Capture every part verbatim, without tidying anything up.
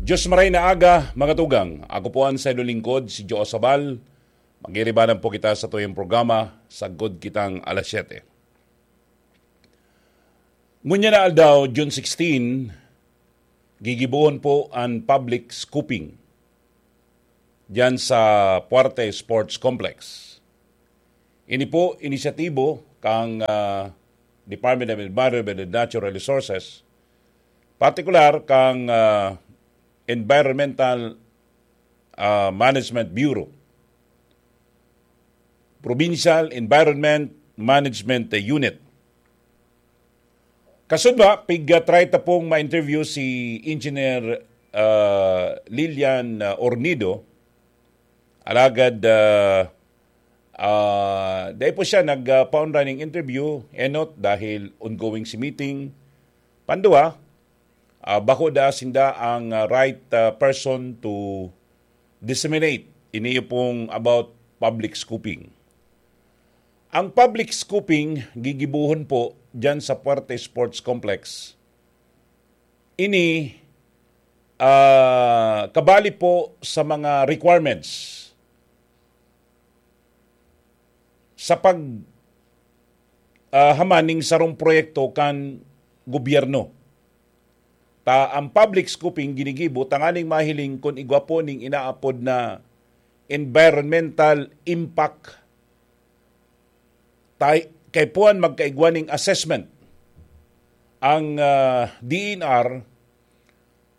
Diyos maray na aga, mga tugang. Ako po ang sayo lingkod, si Joe Sabal. Magiribanan po kita sa tuyang programa, Sagkod Kitang Alas Siyete. Ngunyan na aldaw, June sixteen, gigibohon po ang public scooping diyan sa Puarte Sports Complex. Ini po inisyatibo kang, ah, Department of Environment and Natural Resources, partikular kang, ah, Environmental, ah, Management Bureau, Provincial Environment Management Unit. Kasudma, pig-try ta pong ma-interview si Engineer, ah, Lilian, ah, Ornido. Alagad, ah, ah, dai po siya nagpaunra ning interview, enot dahil ongoing si meeting. Panduwa, ah, bako da sinda ang, ah, right, ah, person to disseminate ini pong about public scooping. Ang public scooping gigibohon po diyan sa Puerte Sports Complex. Ini, ah, kabali po sa mga requirements sa pag, ah, haman ning sarong proyekto kan gobyerno. Ta ang public scooping ginigibo tanganing mahiling kun igwa po ning inaapod na environmental impact. Tay-, kaipuhan magkaigwa ning assessment ang, ah, D E N R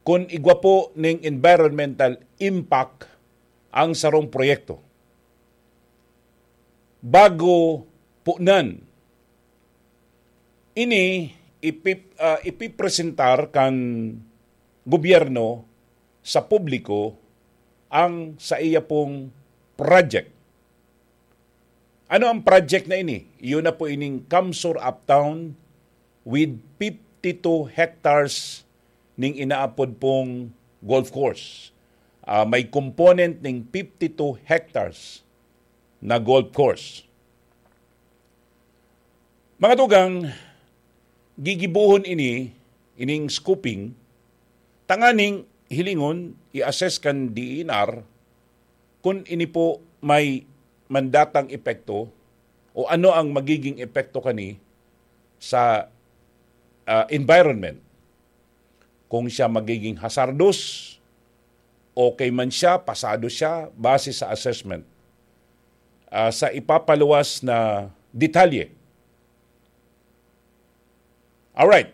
kun igwa po ning environmental impact ang sarong proyekto. Bago punan, ini ipi-, ah, ipipresentar kan gobyerno sa publiko ang saiya pong project. Ano ang project na ini? Iyon na po ining Kamsur Uptown with fifty-two hectares ning inaapod pong golf course. Ah, may component ning fifty-two hectares na golf course. Mga tugang, gigibohon ini, ining scooping, tanganing hilingon, i-assess kan D E N R kun ini po may mandatang epekto o ano ang magiging epekto kani sa, ah, environment. Kung siya magiging hazardous, okay man siya, pasado siya, base sa assessment. Ah, sa ipapaluwas na detalye. Alright.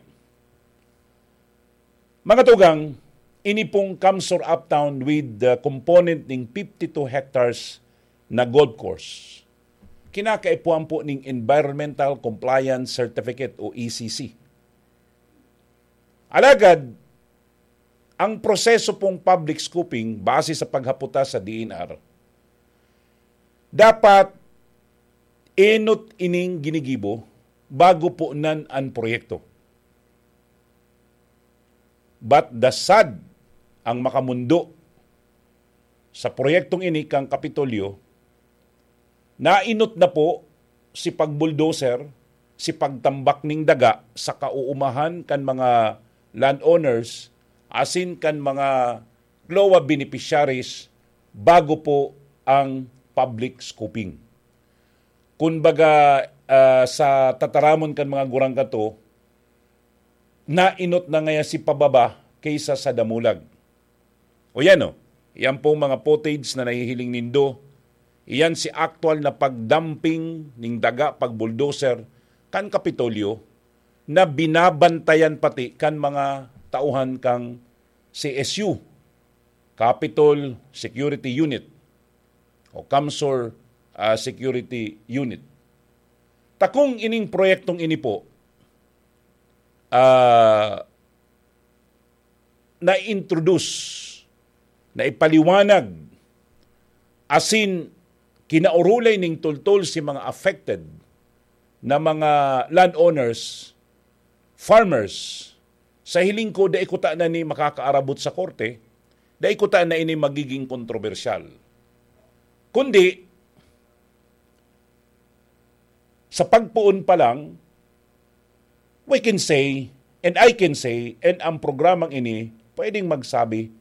Mga tugang, ini pong Kamsur Uptown with the component ning fifty-two hectares na golf course, kinakaipuhan po ning Environmental Compliance Certificate o E C C. Alagad, ang proseso pong public scooping, base sa paghapota sa D E N R, dapat enot ining ginigibo bago punan an proyekto. But the sad, ang makamundo sa proyektong ini kan Kapitolyo, naenot na po si pagbulldozer, si pagtambak ning daga sa kauumahan kan mga landowners asin kan mga CLOA beneficiaries bago po ang public scooping. Kun baga, ah, sa tataramon kan mga gurang kato, naenot na ngaya si pababa kaysa sa damulag. O yan o, yan pong mga footage na nahihiling nindo, iyan si aktual na pagdumping ning daga, pagbulldozer kan Kapitolyo na binabantayan pati kan mga tauhan kang C S U, Capitol Security Unit o Kamsur, ah, Security Unit. Takong ining proyektong ini po, ah, na-introduce, na ipaliwanag, asin kinaurulay ning tultol si mga affected na mga landowners, farmers. Sa hiling ko, dai kuta na ni makakaarabot sa korte, dai kuta na ini magiging kontrobersyal. Kundi, sa pagpoon pa lang, we can say, and I can say, and ang programang ini pwedeng magsabi,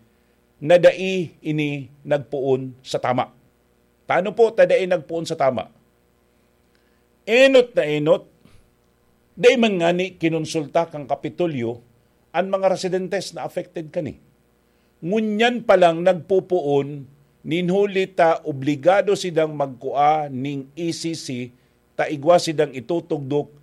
na dai ini nagpoon sa tama. Tano po ta dai nagpoon sa tama? Enot na enot, dai man ngani kinonsulta kan Kapitolyo an mga residentes na affected kani. Ngunyan pa lang nagpopoon, nin huli ta obligado sidang magkua ning E C C ta igwa sidang itutugdok